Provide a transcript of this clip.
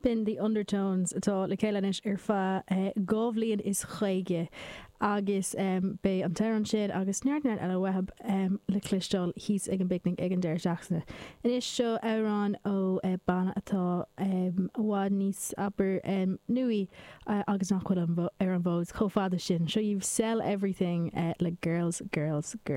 B'in The Undertones atá le chéile anois ar feadh 50 bhliain agus beidh an t-amhrán sin agus neart neart eile uathu le cloisteáil thíos ag an bPicnic ag an deireadh seachtaine. Anois seo amhrán ó banna atá i bhfad níos, abair, nuaí agus nach bhfuil ar an bhfód chomh fada sin. Seo dhaoibh Sell Everything le Girls, Girls, Girls.